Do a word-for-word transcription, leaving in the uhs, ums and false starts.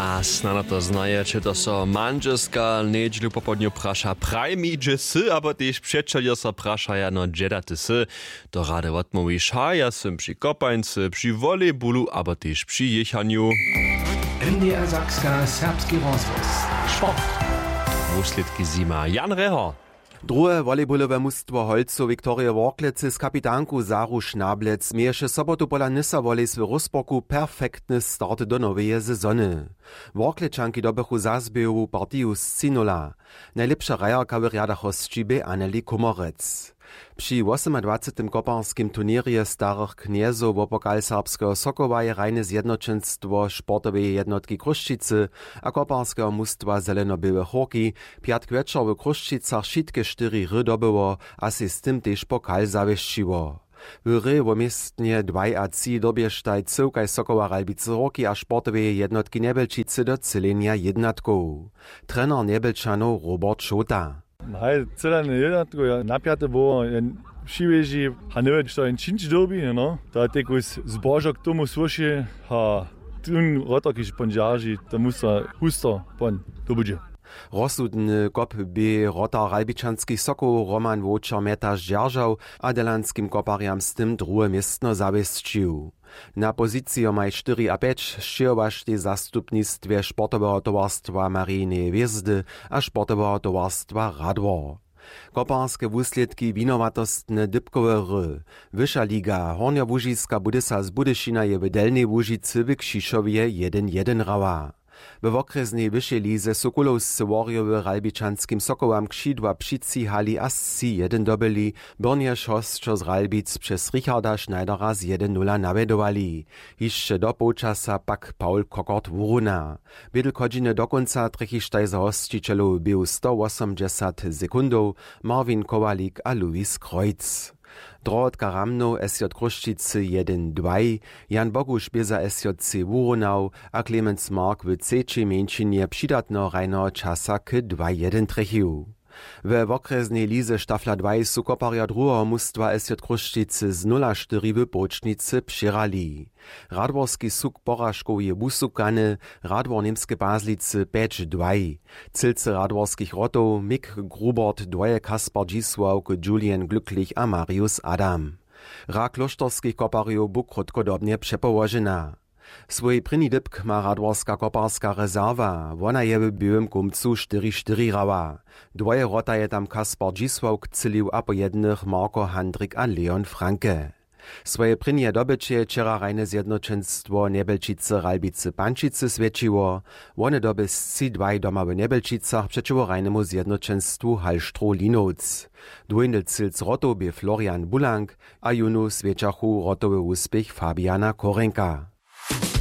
A snano to znajeće, to so mandźelska njedźelu popołdnju praša: „Praj mi, hdźe sy?“ Abo tež přećeljo so prašaja: „No, hdźe da ty sy?“ To rady wotmołwiša: „Ja sym při kopańcy, při volejbulu abo tež při jěchanju.“ N D R Sakska, serbski rozhłos. Sport. Wuslědki zjima Jan Rehor. Druhe volejbolowe mustwo Holcow Viktorije Worklecy z kapitanku Saru Šnablec měješe sobotu pola Nysa Volleys w Roosborgu perfektny start do noweje sezony. Worklečanki dobychu za zběhowu partiju scinula. Najlěpša hrajerka w rjadach hosći bě Anneli Kummerec. Při wosomadwacetym koparskim turněrje starych knjezow wo pokal serbskeho Sokoła je hrajne zjednoćenstwo sportoweje jednotki Chrósćicy a koparskeho mustwa Zeleno-běłe Chórki pjatk wječor w Chrósćicach wšitke štyri hry dobyło a sej z tym tež pokal zawěsćiło. W hrě wo městnje dwaj a tři dyrbještaj cyłkaj Sokoła Ralbicy Hórki a sportoweje jednotki Njebjelčicy do třělenja jědnatkow. Trener Njebjelčanow Robert Šołta. Haj, třělanje jědnatkow je napjate, bo jen přiwěži a njewě što jen čińć dyrbi, no. To je tekus zbožo k tomu słyši a tón rotor, kiž pon dźerži, to musa husto pon dobudźe. Rozsudny kop bě wrotar ralbičanskich Sokołow Roman Wowčer mjetaš dźeržał a delanskim koparjam z tym druhe městno zawěsćił. Na pozicijomaj štyri a pjeć sćěhowaštej w zastupnistwje sportoweho towarstwa Marineje hwězdy a sportoweho towarstwa Radwor. Koparske wuslědki: winowatostne dypkowe hry, wyša liga, Hornjołužiska Budysa z Budyšina je w Delnjej Łužicy w Křišowje jedyn jedyn hrała. We wokrjesnej wyšej lize su kulowscy Worjowy ralbičanskim Sokołam křidła přitřihali a sći jedyn dobyli, byrnjež hosćo z Ralbic přez Richarda Schneidera z jedyn nula nawjedowali. Hišće do połčasa pak Paul Kokort wuruna. Bědl chodźiny do kónca trjechištaj za hosćićelow běhu stowosomdźesat sekundow Marvin Kowalik a Louis Kreutz. Drohotka Ramnow S J Chrósćicy jedyn dwaj, Jan Boguš bě za S J C wurunał a Clemens Mark w třećej mjeńšinje přidatneho hrajneho časa k dwaj jedyn trjechił. We wokrjesnej lize Stafla dwaj su koparjo druheho mustwa S J Chrósćicy z nula štyri w połčnicy přěhrali. Radworski suk poražkow je wusukany, Radwor Němske Pazlicy pjeć dwaj. Cylcy radworskich wrotow Mick Grubert dwoje, Kaspar Dźisławk, Julian Glücklich a Marius Adam. Hra klóšterskich koparjow bu krótkodobnje přepołožena. Swój prěni dypk ma radworska koparska rezerwa, wona je w běłym kómcu štyri štyri hrała. Dwoje wrota je tam Kaspar Dźisławk třělił a po jednych Marko Handrik a Leon Franke. Swoje prěnje dobyće je wčera hrajne zjednoćenstwo Njebjelčicy Ralbicy Pančicy swjećiło. Wone doby sći dwaj doma w Njebjelčicach přećiwo hrajnemu zjednoćenstwu Hallstroh Linowc. Dwójny cylc wrotow bě Florian Bulank a jónu swjećachu wrotowy wuspěch Fabiana Korenka.